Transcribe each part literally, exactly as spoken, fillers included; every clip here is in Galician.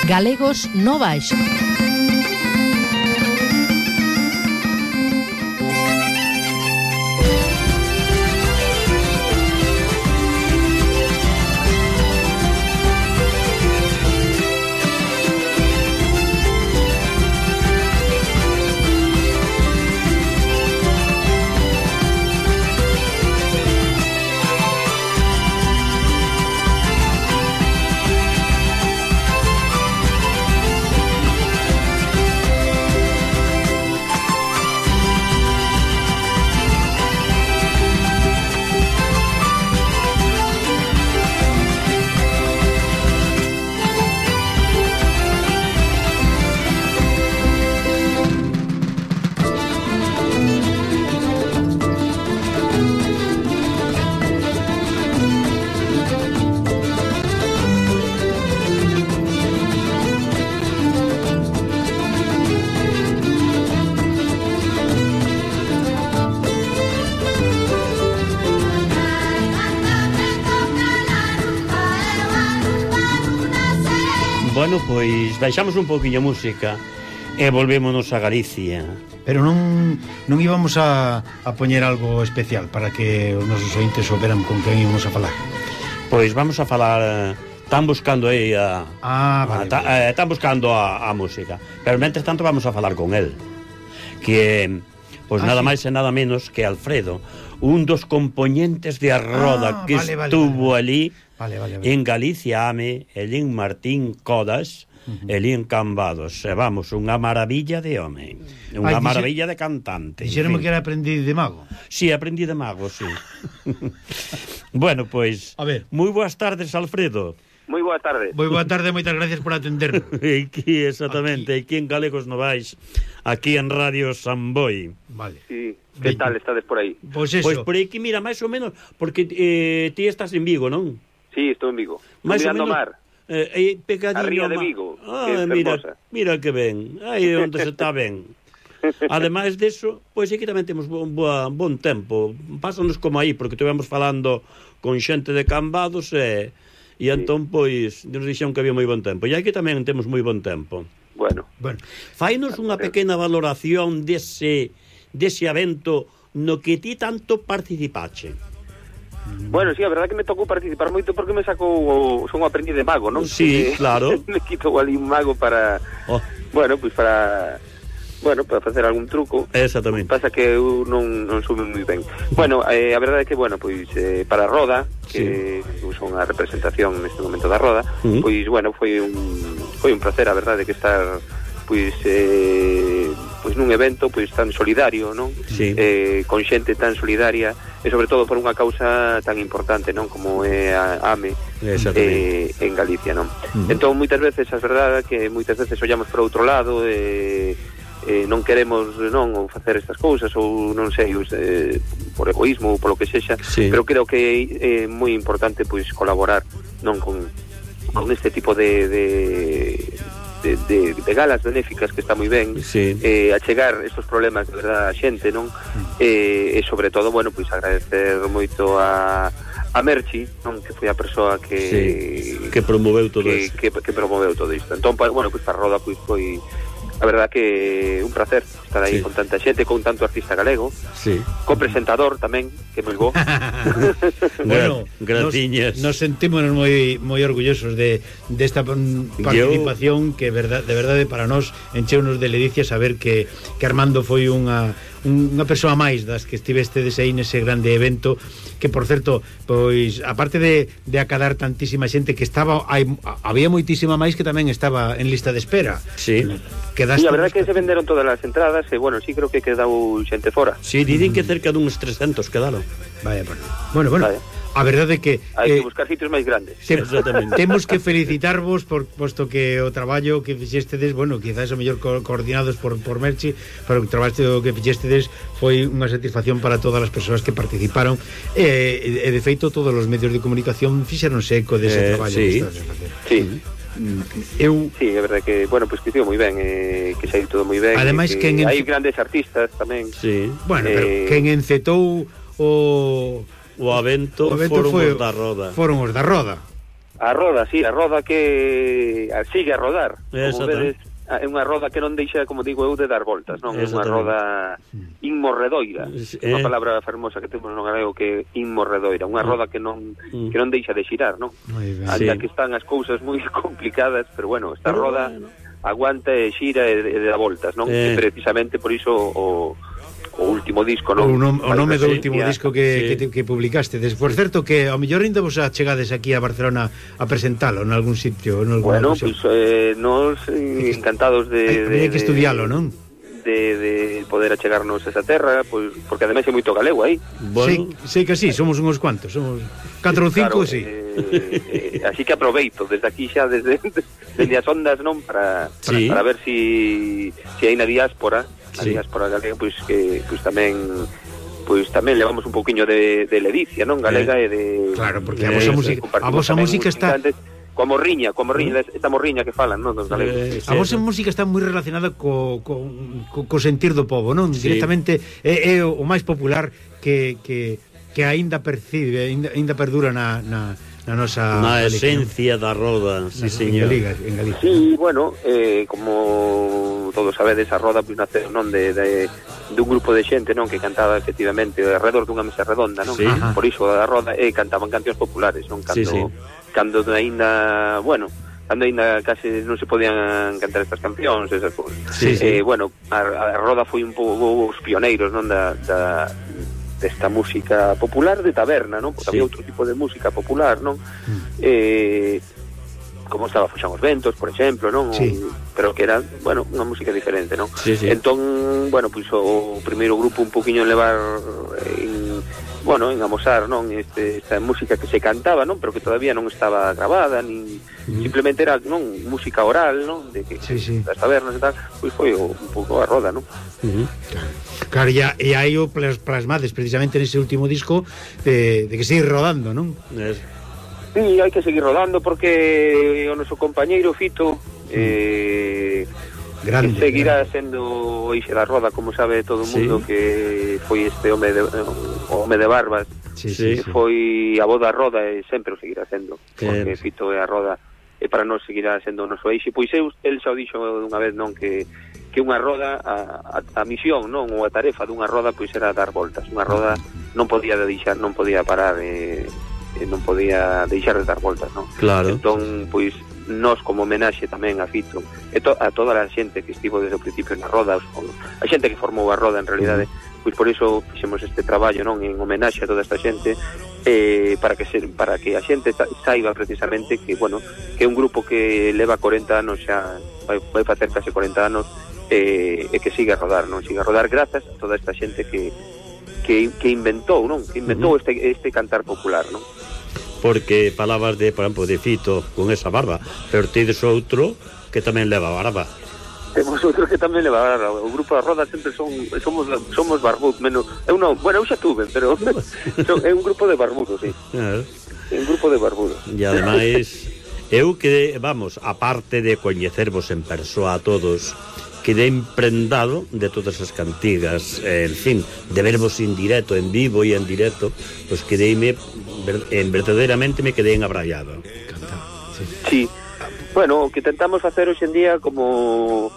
Galegos no Baixo. Bueno, pois baixamos un pouquiño a música e volvémonos a Galicia. Pero non non íbamos a, a poñer algo especial para que os nosos ointes souberan con quen íbamos a falar. Pois vamos a falar, están buscando aí a Ah, vale, a, ta, vale. eh, están buscando a, a música. Pero mentres tanto vamos a falar con el, que pois ah, nada sí. máis e nada menos que Alfredo, un dos componentes de A Roda ah, que vale, vale, estuvo vale, vale. ali Vale, vale, vale. en Galicia Ame, Elín Martín Codas, uh-huh. Elín Cambados. E vamos, unha maravilla de home, unha Ay, maravilla de cantante. Dixéronme que era aprendiz de mago. Sí, aprendí de mago, sí. Bueno, pois, A ver. moi boas tardes, Alfredo. Moi boa tarde. Moi boa tarde, moitas gracias por atendernos. Aquí, exactamente, aquí, aquí en Galegos no Vais, aquí en Radio Samboy. Vale. Sí, que tal estades por aí? Pois eso. Pois por aquí, mira, máis ou menos, porque eh, ti estás en Vigo, non? Sí, estou en Vigo. Máis ou Mirando menos, o mar. Eh, aí pegadinho A ría de ao mar. Vigo, Ah, que é mira, fermosa. mira que ben. Aí onde se está ben. Ademais deso, pois aquí tamén temos bon, bon, bon tempo. Pásanos como aí, porque estivemos falando con xente de Cambados e, e Sí. entón, pois, nos dixeron que había moi bon tempo. E aquí tamén temos moi bon tempo. Bueno, Bueno, Fainos unha pequena valoración dese, dese evento no que ti tanto participache. bueno, sí, a verdade que me tocou participar moito porque me sacou o son un aprendiz de mago, non? Sí, Que claro. Me quitou ali un mago para, Oh, bueno, pois pues para bueno, para facer algún truco. exactamente. Pasa que eu non, non subo moi ben. Bueno, eh, a verdade é que, bueno, pois eh, para a Roda, que sí. son a representación neste momento da Roda, Uh-huh. pois, bueno, foi un foi un placer, a verdade, que estar pois eh, pois nun evento pois tan solidario, non? Sí. Eh, con xente tan solidaria e sobre todo por unha causa tan importante, non, como é a AME eh, en Galicia, non? Uh-huh. Entón moitas veces, as verdade que moitas veces ollamos por outro lado e eh, non queremos non ou facer estas cousas ou non sei, eh, por egoísmo ou polo que sexa, Sí. pero creo que é moi importante pois colaborar non con con este tipo de de De, de, de galas benéficas que está moi ben, Sí. eh, achegar estos problemas de verdad a xente, non? Eh, e sobre todo, bueno, pois agradecer moito a a Merchi, non, que foi a persoa que Sí, que promoveu todo que, isto. que, que promoveu todo isto. Entón, pa, bueno, pois para a Roda pois foi a verdad que un placer estar aí Sí. con tanta xente, con tanto artista galego, Sí. co presentador tamén, que moi bo. bueno, graciñas. Nos, nos sentímonos moi moi orgullosos de desta de participación Yo... que verdad, de verdade para nós encheunos de ledicia saber que, que Armando foi unha unha persoa máis das que estivestedes aí nese grande evento, que por certo, pois aparte de, de acadar tantísima xente que estaba, hai, había moitísima máis que tamén estaba en lista de espera. Sí. Sí, a verdade que se venderon todas as entradas e, bueno, sí creo que quedou xente fora. Sí, dicen que cerca duns trescentos quedaron. Vaya, bueno, bueno, bueno Vaya. A verdade é que hai eh, que buscar sitios máis grandes. Tem, Exactamente. temos que felicitarvos por posto que o traballo que fixestedes, bueno, quizás o mellor co coordinados por, por Merchi, pero o traballo que fixestedes foi unha satisfacción para todas as persoas que participaron e, e de feito todos os medios de comunicación fixeronse eco dese Eh, traballo sí. que estás a facer. Sí. Eu Sí, é verdade que, bueno, pois pues, que estivo moi ben, eh, que saíu todo moi ben. Ademais, que quen en... hai grandes artistas tamén. Sí. bueno, eh, pero quen encetou o O evento, o evento foron foi, os da Roda. Foron os da Roda. A roda, sí, a roda que sigue a rodar. Como vedes, é unha roda que non deixa, como digo eu, de dar voltas, non? É unha roda inmorredoira. É unha palabra fermosa que temos no galego que é inmorredoira, unha roda que non que non deixa de xirar, non? Anda que están as cousas moi complicadas, pero bueno, esta roda aguanta e xira e, e dá voltas, non? E precisamente por iso o o último disco, non? O, nom, o nome do último disco que, sí. que, que publicaste. Por certo, que ao mellor ainda vos chegades aquí a Barcelona a presentalo en algún sitio, en bueno, pois pues, eh, nos eh, encantados de... Hai que estudialo, non? De, de poder achegarnos a esa terra, pois, porque ademais é moito galego aí. Bueno. Sei, sei que sí, somos uns cuantos, somos catro ou cinco, claro, sí. Eh, eh, así que aproveito desde aquí xa, desde, desde as ondas, non? Para, sí. para, para ver si, si hai na diáspora, na sí. diáspora galega, pois que pois tamén pois tamén levamos un pouquiño de, de ledicia, non? Galega eh, e de... Claro, porque a vosa música, a vosa música está... Coa morriña, coa morriña, esta morriña que falan, non, dos galegos. Eh, a vosa música está moi relacionada co, co, co, co sentir do povo, non? Sí. Directamente é, é o máis popular que, que, que aínda percibe, aínda, aínda perdura na, na, na nosa... Na esencia da roda, sí, señor. En Galicia. Sí, bueno, eh, como todos sabedes, a roda pois nace, non, de, de, de un grupo de xente, non, que cantaba efectivamente alrededor dunha mesa redonda, non? Sí. Por iso a roda, e eh, cantaban cancións populares, non? Cando... Sí, sí. Cando aínda, bueno, cando aínda case non se podían cantar estas cancións, esas cousas. Sí, sí. Eh, bueno, a, a roda foi un pouco os pioneiros, non, da, da desta música popular de taberna, non? Porque sí. había outro tipo de música popular, non? Mm. Eh, como estaba Foxán os Ventos, por exemplo, non? Sí. Pero que era, bueno, unha música diferente, non? Sí, sí. Entón, bueno, pois pues, o primeiro grupo un poquinho en levar en, bueno, en amosar, non, este, esta música que se cantaba, non, pero que todavía non estaba grabada, ni mm. simplemente era, non, música oral, non, de que sí, sí. das tabernas e tal, pois foi o, un pouco a roda, non? Uh -huh. Claro, e, e aí o plasmades precisamente nese último disco de, de que sigue rodando, non? Es... Sí, hai que seguir rodando porque o noso compañeiro Fito eh, grande, que seguirá grande. Sendo o eixe da roda, como sabe todo o mundo, sí. que foi este home de, o home de barbas, sí, sí, que sí. foi a voz da roda e sempre o seguirá sendo, porque sí. Fito é a roda e para nós seguirá sendo o noso eixe. Pois eu, el xa o dixo unha vez, non, que que unha roda, a, a, a misión, non, ou a tarefa dunha roda, pois era dar voltas. Unha roda non podía deixar, non podía parar, eh, non podía deixar de dar voltas, non? Claro. Entón, pois, nós como homenaxe tamén a Fito e to, a toda a xente que estivo desde o principio na roda, a xente que formou a roda en realidade, pois por iso fixemos este traballo, non, en homenaxe a toda esta xente, eh, para que se, para que a xente saiba precisamente que, bueno, que é un grupo que leva corenta anos xa, vai, vai facer case corenta anos, eh, e que siga a rodar, non? Siga a rodar grazas a toda esta xente que que, que inventou, non? Que inventou uh -huh. este, este cantar popular, non? Porque palabras de, por exemplo, de Fito con esa barba, pero tedes outro que tamén leva barba. Temos outro que tamén leva barba. O grupo da roda sempre son somos somos barbudos, menos eu non, bueno, eu xa tuve, pero é un grupo de barbudos, sí. É un grupo de barbudos. E ademais eu que, vamos, aparte de coñecervos en persoa a todos, quedei emprendado de todas as cantigas, eh, en fin, de vervos en directo, en vivo e en directo, pois pues quedeime, en verdadeiramente me quedei engabrallado. Sí. Sí. Bueno, o que tentamos facer hoxe en día como,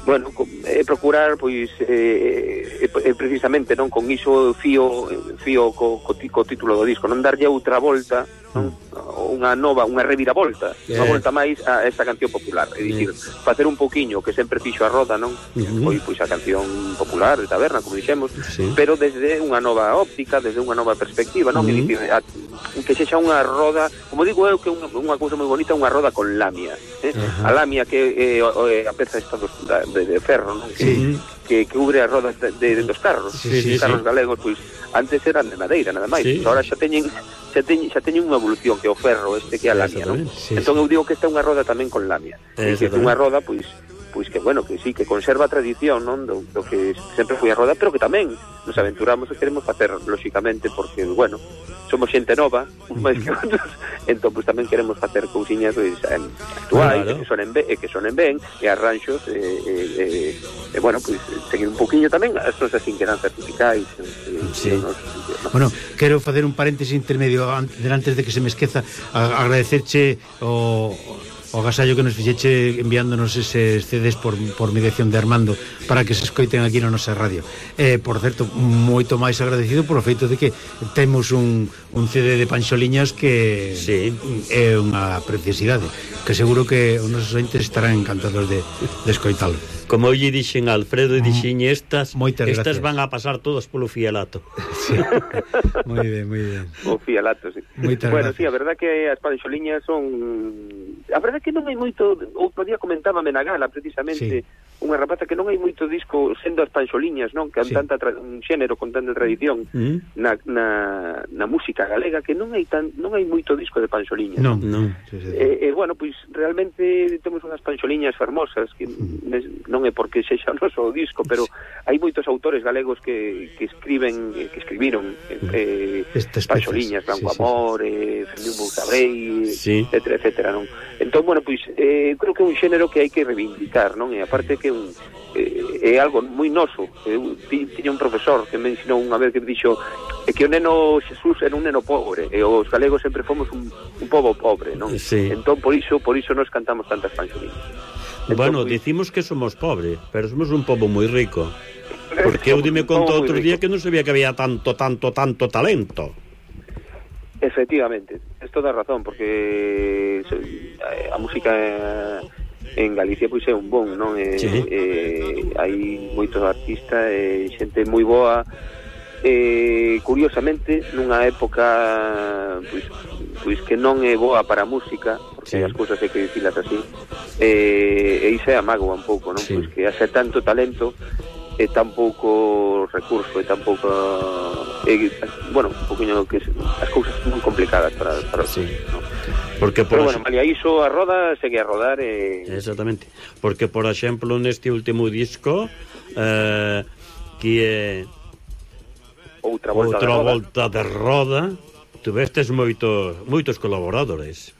bueno, é procurar, pois, eh, eh, precisamente, non, con iso fío, fío co, co, co título do disco, non darlle outra volta, non, unha nova, unha reviravolta, yeah. unha volta máis a esta canción popular, é dicir, yeah. facer un poquiño que sempre fixo a roda, non? Uh -huh. Foi pois a canción popular de taberna, como dixemos, sí. pero desde unha nova óptica, desde unha nova perspectiva, non? Uh -huh. É dicir, a, que sexa unha roda, como digo eu, que unha, unha cousa moi bonita, unha roda con lamia, eh? Uh -huh. A lamia que é eh, a peza esta dos, de, de ferro, non? Que, sí. que, que cubre as rodas de, de, de dos carros, sí, sí, os carros sí. galegos, pois antes eran de madeira, nada máis, sí. agora xa teñen xa teñen, xa teñen unha evolución que é o ferro este que é a lamia, non? Sí, entón eu digo que esta é unha roda tamén con lamia, é que é unha roda, pois pois que, bueno, que sí, que conserva a tradición, non, do, do que sempre foi a roda, pero que tamén nos aventuramos e queremos facer, lóxicamente, porque, bueno, somos xente nova, uns máis que outros, entón, pois tamén queremos facer cousiñas, pois, actuais, claro. que sonen ben, e que sonen ben, e arranxos, e, e, e, e bueno, pois, seguir un poquinho tamén as nosas inquedanzas musicais, e, Sí. No, no. Bueno, quero facer un paréntesis intermedio antes, antes de que se me esqueza, a, agradecerche o o agasallo que nos fixeche enviándonos eses C Ds por, por mediación de Armando para que se escoiten aquí na nosa radio. Eh, por certo, moito máis agradecido por o feito de que temos un, un C D de Panxoliñas que sí. é unha preciosidade, que seguro que os nosos entes estarán encantados de, de escoitalo. Como eu lle dixen a Alfredo e dixen estas, Moitas estas gracias. van a pasar todas polo fialato. Sí. Moi ben, moi ben. O fialato, sí. Moitas bueno, gracias. sí, a verdad que as panxoliñas son... A verdad que non hai moito... Outro día comentábame na gala, precisamente, sí. unha rapaza que non hai moito disco sendo as panxoliñas, non? Que han sí. tanta tra... un xénero con tanta tradición mm. na, na, na música galega, que non hai tan non hai moito disco de panxoliñas. Non, non. Sí, sí, sí. Eh, eh, bueno, pois pues, realmente temos unhas panxoliñas fermosas que mm. non é porque sexa o noso disco, pero sí. hai moitos autores galegos que, que escriben, que escribiron eh, panxoliñas, Blanco sí, Amor, sí, sí. eh, Fermín Bouzabrei, sí. etcétera, etcétera, non? Entón, bueno, pois eh, creo que é un xénero que hai que reivindicar, non? E aparte que un, eh, é algo moi noso. Eu tiña un profesor que me ensinou unha vez que dixo é que o neno Xesús era un neno pobre e os galegos sempre fomos un, un pobo pobre, non? Sí. Entón, por iso, por iso nos cantamos tantas panxoliñas. Entón, bueno, pues, dicimos que somos pobres, pero somos un pobo moi rico. Porque eu dime conto outro día que non sabía que había tanto, tanto, tanto talento. Efectivamente, es toda razón, porque a música en Galicia pois é un bon, non? E, sí. eh, hai moitos artistas e xente moi boa. Eh, curiosamente, nunha época pois, pois que non é boa para a música, porque sí. as cousas hai que dicilas así, eh, e iso é a mágoa un pouco, non? Sí. Pois que hace tanto talento e tan pouco recurso e tan pouco e, bueno, un poquinho que as cousas moi complicadas para, para sí. ¿no? Porque por pero bueno, malia iso a roda segue a rodar e... Exactamente, porque por exemplo neste último disco eh, que é outra volta, outra de, roda. volta de roda tuvestes moitos moitos colaboradores.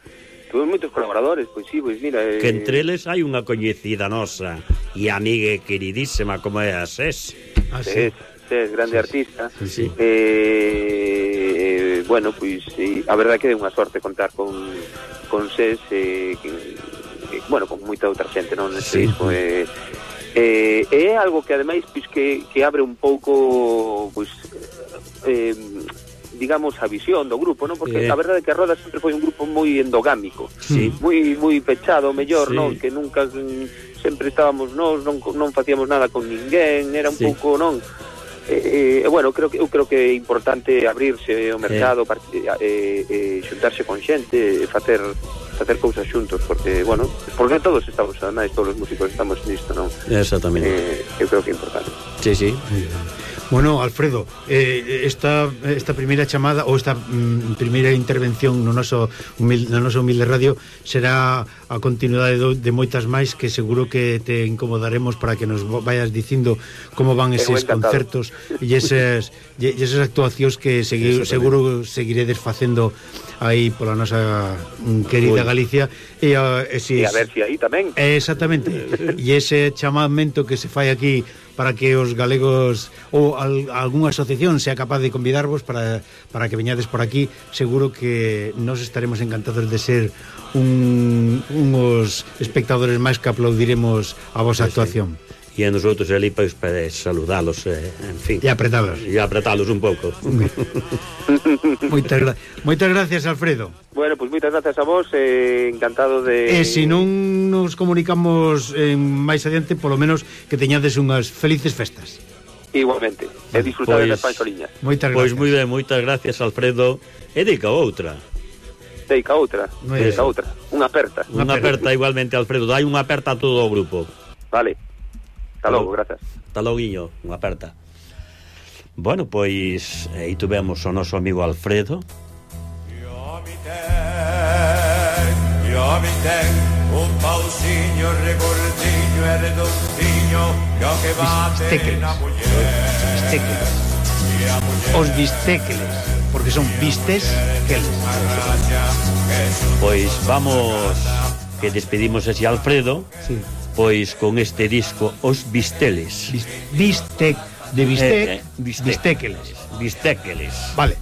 Tuve moitos colaboradores, pois sí, pois mira... Eh... Que entre eles hai unha coñecida nosa e amiga queridísima como é a Ses. Ah, sí. Ses, Ses, grande sí, artista. Sí, sí. Eh, bueno, pois sí, a verdade que é unha sorte contar con, con Ses, eh, que, eh, bueno, con moita outra xente, non? Neste sí. disco, eh, eh, é algo que ademais pois, que, que abre un pouco, pois... Eh, digamos, a visión do grupo, non? Porque eh. a verdade é que a Roda sempre foi un grupo moi endogámico, sí. moi moi pechado, mellor, sí. non? Que nunca sempre estábamos nós, non non facíamos nada con ninguén, era un sí. pouco, non? E eh, eh, bueno, creo que eu creo que é importante abrirse ao mercado, eh. eh, eh, xuntarse con xente, facer facer cousas xuntos, porque, bueno, porque todos estamos, además, todos os músicos estamos nisto, non? Exactamente. Eh, eu creo que é importante. Sí, sí. Bueno, Alfredo, eh, esta, esta primeira chamada ou esta mm, primeira intervención no noso humilde, no noso humilde radio será a continuidade do, de moitas máis que seguro que te incomodaremos para que nos vayas dicindo como van eses concertos e esas, e esas actuacións que segui, seguro seguiredes facendo aí pola nosa querida Galicia e a, eses, e a ver si aí tamén. Exactamente. E ese chamamento que se fai aquí para que os galegos ou al, algunha asociación sea capaz de convidarvos para, para que veñades por aquí, seguro que nos estaremos encantados de ser un, uns espectadores máis que aplaudiremos a vosa sí, actuación. Sí. E a nosotros ali pois, para saludalos, eh, en fin. E apretalos. E apretalos un pouco. moitas, gra moitas gracias, Alfredo. Bueno, pois pues moitas gracias a vos, eh, encantado de... E se non nos comunicamos eh, máis adiante, polo menos que teñades unhas felices festas. Igualmente, e disfrutades pues, das panxoliñas. Moitas gracias. Pois moi ben, moitas gracias, Alfredo. E dica outra. Dica outra, dica outra. Unha aperta. Unha aperta igualmente, Alfredo. Dai unha aperta a todo o grupo. Vale. Hasta logo, gracias. Hasta loguinho, unha aperta. Bueno, pois aí tuvemos o noso amigo Alfredo. Yo mi ten, yo mi ten un pausiño regordillo e redondiño que o que bate na muller. Bistéqueles. Os bistéqueles, porque son vistes queles. Pois vamos, que despedimos ese Alfredo. Sí. Pois con este disco Os Bisteles. Bistec, de bistec, eh, eh, bistec. bistéqueles. Bistéqueles. Vale.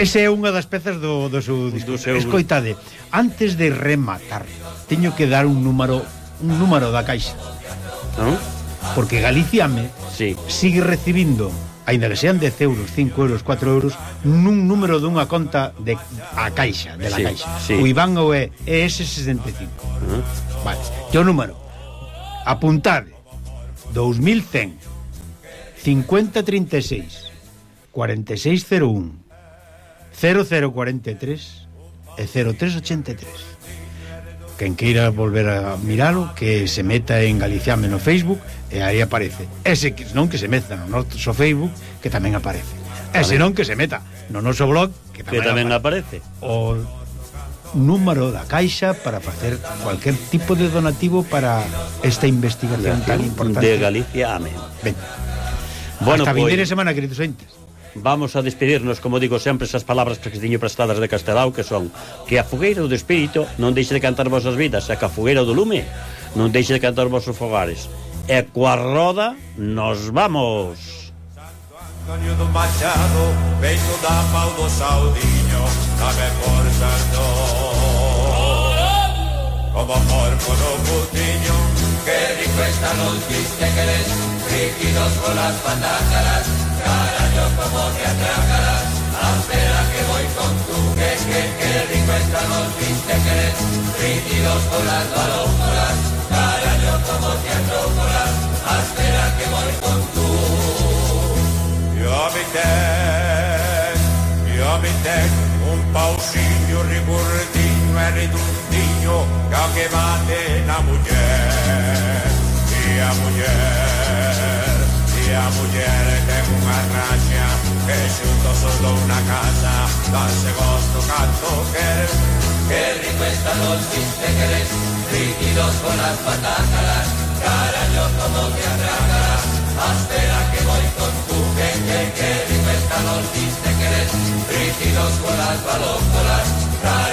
Ese é unha das pezas do, do seu disco. Do seu... Escoitade, antes de rematar, teño que dar un número un número da caixa. Non? Porque Galiciame sí. sigue recibindo, aínda que sean dez euros, cinco euros, cuatro euros, nun número dunha conta de a caixa, de la sí, caixa. Sí. O Iván ou é E S sesenta e cinco. Uh -huh. Vale. E o número, apuntade, dous mil cen, cincuenta trinta e seis, cuarenta e seis cero un, cero cero cuarenta e tres e cero tres ochenta e tres. Quen queira volver a miralo, que se meta en Galiciame no Facebook e aí aparece. Ese que non que se meta no noso Facebook, que tamén aparece. Ese non que se meta no noso blog, que tamén, que tamén aparece. aparece. O número da caixa para facer cualquier tipo de donativo para esta investigación tan importante de Galicia, amén. Ben. Bueno, hasta pues, vindeira semana, queridos ointes. Vamos a despedirnos, como digo sempre, esas palabras que teño prestadas de Castelao, que son que a fogueira do espírito non deixe de cantar vosas vidas, e que a fogueira do lume non deixe de cantar vosos fogares. E coa roda nos vamos. Antonio do Machado, peito da pau do Saudiño, sabe por santo. Como porco no putiño, que rico están los bistequeles, rígidos con las patácaras, carajo como te atracarás, espera que voy con tu, que, que, que rico están los bistequeles, rígidos con las balócolas, carajo como te atracarás, espera que voy con tu. Yo mi ten, yo mi ten, un pausinho rigurdiño e redundiño, que ao que bate na muller, e a muller, e a muller ten unha raxa, que xuntos son douna casa, danse gosto canto quer, que rico están los bistequeles, rígidos con las patácaras, carajo como te atracarás, espera que voy con tu, que, que, que rico están los bistequeles, rígidos con las balócolas, carajo